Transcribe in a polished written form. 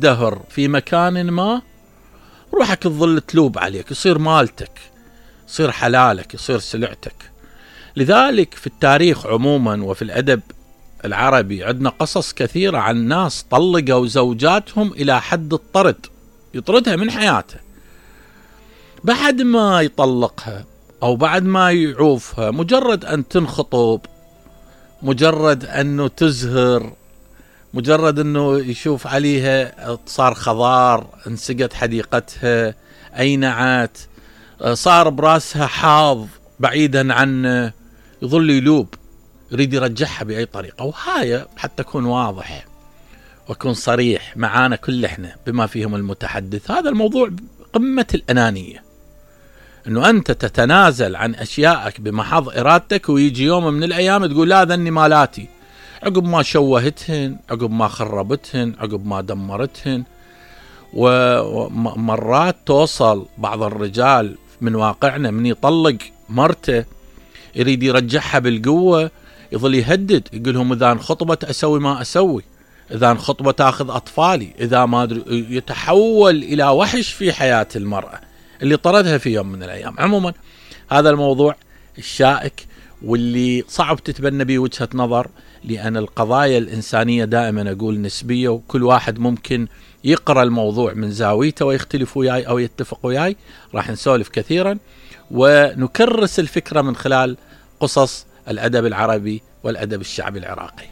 تزدهر في مكان ما روحك تظل تلوب عليك، يصير مالتك، يصير حلالك، يصير سلعتك. لذلك في التاريخ عموما وفي الأدب العربي عندنا قصص كثيرة عن ناس طلقوا زوجاتهم إلى حد الطرد، يطردها من حياته. بعد ما يطلقها أو بعد ما يعوفها، مجرد أن تنخطب، مجرد أنه تزهر، مجرد أنه يشوف عليها صار خضار، انسقت حديقتها، أينعت، صار براسها حاض بعيدا عنه، يظل يلوب، يريد يرجعها بأي طريقة. وهاي حتى أكون واضح وأكون صريح معانا كل إحنا بما فيهم المتحدث، هذا الموضوع قمة الأنانية، أنه أنت تتنازل عن أشيائك بمحض إرادتك، ويجي يوم من الأيام تقول لا ذني مالاتي، عقب ما شوهتهن، عقب ما خربتهن، عقب ما دمرتهن. ومرات توصل بعض الرجال من واقعنا من يطلق مرته يريد يرجعها بالقوة، يظل يهدد، يقولهم إذا انخطبت أسوي ما أسوي، إذا انخطبت أخذ أطفالي، إذا ما أدري، يتحول إلى وحش في حياة المرأة اللي طردها في يوم من الأيام. عموما هذا الموضوع الشائك واللي صعب تتبنى به وجهة نظر، لأن القضايا الإنسانية دائما أقول نسبية، وكل واحد ممكن يقرأ الموضوع من زاويته ويختلف وياي أو يتفق وياي. راح نسولف كثيرا ونكرس الفكرة من خلال قصص الأدب العربي والأدب الشعبي العراقي.